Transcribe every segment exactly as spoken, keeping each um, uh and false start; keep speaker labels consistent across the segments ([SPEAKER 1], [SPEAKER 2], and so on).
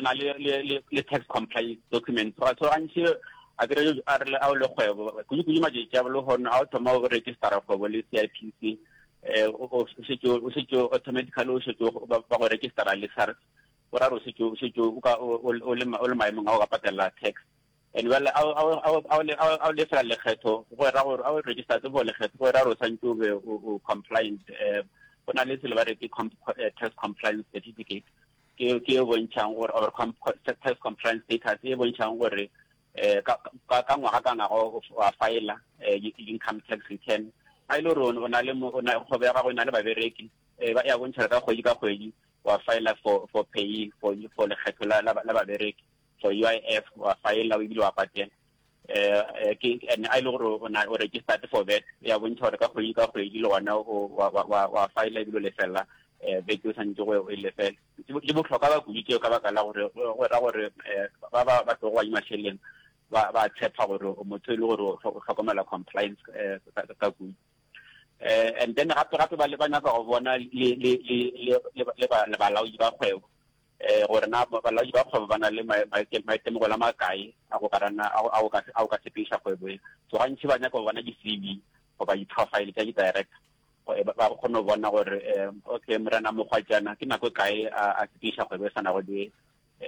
[SPEAKER 1] na le le le tax compliance document. So gantši a kere a re a o le kgwebo kudu-kudu matšatši a lehono a o thoma o registera kgwebo le C I P C, eh o šetše o šetše automatically o šetše ba go registera le SARS, o ra re o šetše o šetše o ka o le o le maemong a go ka patela tax. And well, a o lefela lekgetho go ra gore a o register for lekgetho, go ra gore o santse o be o compliant. um go na le selo ba re ke tax compliance certificate, ke ke e bontšhang gore, or tax compliance status e bontšhang gore eh ka ka ngwaga ka ngwaga wa file income tax return. Ga ile gore o na le kgwebo ya gago e na le babereki, eh ba ya bontšha ka kgwedi ka kgwedi wa file for for pay for for lekgetho la la babereki, for U I F wa file o ebile wa patela. eh ke and a ile gore o na o registered for V A T, ya bontšha gore ka kgwedi ka kgwedi le gona wa wa wa file ebile o lefela eh V A T o santse go e lefela. Di bohlokwa ba kudu tšeo ka baka la gore go ra gore ba ba ba tlogo ba mašeleng ba ba tshepa gore motho e le gore o hlokomela compliance ka kudu. eh and then gape gape ba le ba nyaka go bona le le le le le balaodi ba kgwebo, eh gore na balaodi ba kgwebo ba na le maitemogelo a makae a go ka rana a go ka a go ka sepediša kgwebo e. So gantši ba nyaka go bona di-C V goba di-profile tša di-director, ba kgone go bona gore, okay, morena Mokgwatjana ke nako e kae a sepediša kgwebo e swanago le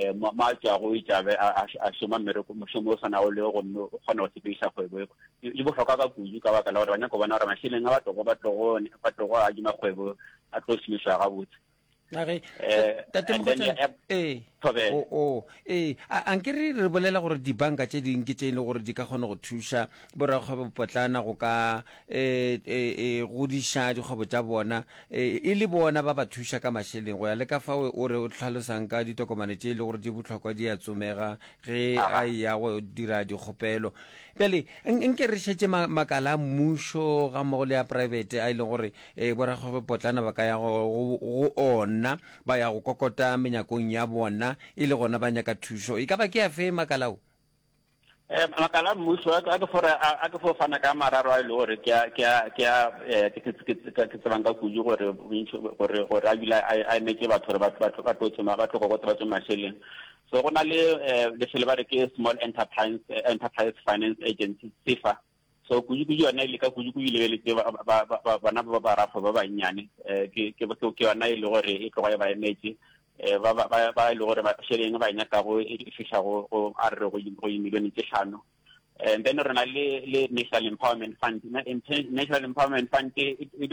[SPEAKER 1] um mo a tšwago, o itšabe a šoma mmereko mošomo o swanago le, gomme o kgona go sepediša kgwebo e. Di bohlokwa ka kudu ka baka la gore ba nyaka go bona gore mašeleng a ba tlogo ba tlogo ba tlogo adima kgwebo a tlo šomišwa gabotse.
[SPEAKER 2] Age tate Mokgotšana, ee, o ee, anke re re bolela gore dibanka tše dingwe ke tše e leng gore di ka kgona go thuša borakgwebo potlana go ka um godiša dikgwebo tša bona, e le bona ba ba thuša ka mašeleng go ya le ka fao o re o tlhalosang ka ditokomane tše e le gore di bohlokwa di a tsomega ge a ya go dira dikgopelo. Bjale nke re šetše makala a mmušo ga mmogo le ya private a e leng gore um borakgwebo potlana ba ka ya go ona, ba ya go kokota menyakong ya bona e le gona ba nyaka thušo. E ka ba ke ya fe makalao?
[SPEAKER 1] um makala a mmušo a ke fore a ke fo fana ka mararo a e le gore ke a ke a ke a ke tsebang ka kudu gore gore gore a bile a emetse batho gore batho ba tlo tsoma ba tlo kokota ba tswe mašeleng. So go na le lefelo ba re ke Small Enterprise Enterprise Finance Agency, SEFA. So kudu-kudu yona e leka kudu-kudu lebeletse bana ba barakgwebo ba bannyane. ke ke yona e le gore e tloga e ba emetse ba ba ba e le gore mašeleng ba e nyakago e fiša go a re go dimilione tše hlano. And then re na le le National Empowerment Fund. National Empowerment Fund e e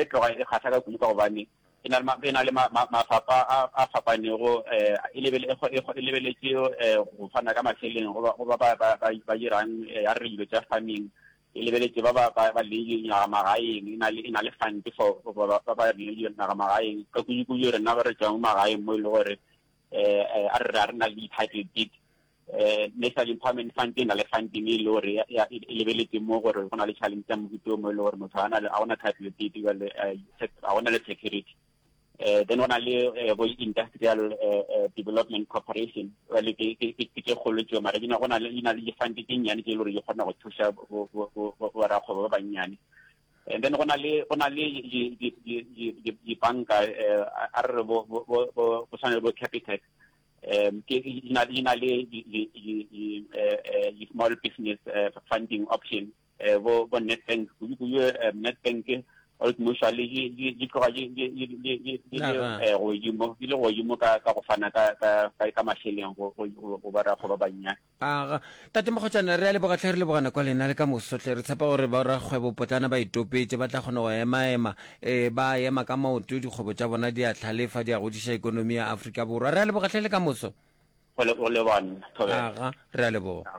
[SPEAKER 1] tloga e kgahla ka kudu ka gobane e na le e na le mafapha a fapanego, e lebeletše go fana ka mašeleng go ba ba ba dirang ya re dilo tša farming, e lebeletše ba ba ba leng dinaga magaeng, e na le e na le fund for ba ba leng dinaga magaeng ka kudu-kudu rena ba re tswang magaeng mo e le gore um a re a re na le di-title deed. um National Empowerment Fund e na le funding e le gore e lebeletse mo gore go na le challenge ya mohuta mo e le gore motho a gona title deed, jale ga gona le security. uh, then go na le bo Industrial Development Corporation, jale ke tše kgolo tšeo, mara di na go na le di na le di-fund tše nnyane tše e le gore di kgona go thuša borakgwebo ba bannyane. And then go na le go na le dibanka, a re re bo bo tshwana le bo Capitec, um ke di na di na le di-small business funding option, bo bo Nedbank kudu-kudu, Nedbank, Old Mutual di tloga di le godimo di le godimo ka ka go fana ka ka ka mašeleng go go barakgwebo ba bannyane.
[SPEAKER 2] Aga tate Mokgotšana, re a leboga tlhe, re lebogana kwa lena le ka mosotle. Re tshepa gore borakgwebo potlana ba itopetše, ba tla kgona go emaema, um ba ema ka maoto, dikgwebo tša bona di a tlhalefa, di a godiša ikonomi ya Afrika Borwa. Re a leboga tlhe, le ka moso.
[SPEAKER 1] Go lebana.
[SPEAKER 2] Aga, re a leboga.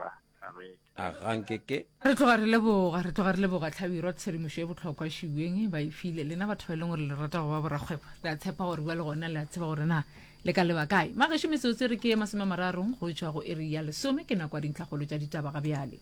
[SPEAKER 2] Aga nkeke.
[SPEAKER 3] Re tloga re leboga, re tloga re leboga Tlhabirwa, tshedimošo e bohlokwa šiweng ba e file lena batho ba e leng gore le rata go ba borakgwebo. Re a tshepa gore bua le gona le a tseba gore na le ka leba kae. Magešo, metsotso re ke masome a mararo go tšwa go iri ya lesome, ke nako ya dintlhakgolo tša ditaba ga bjale.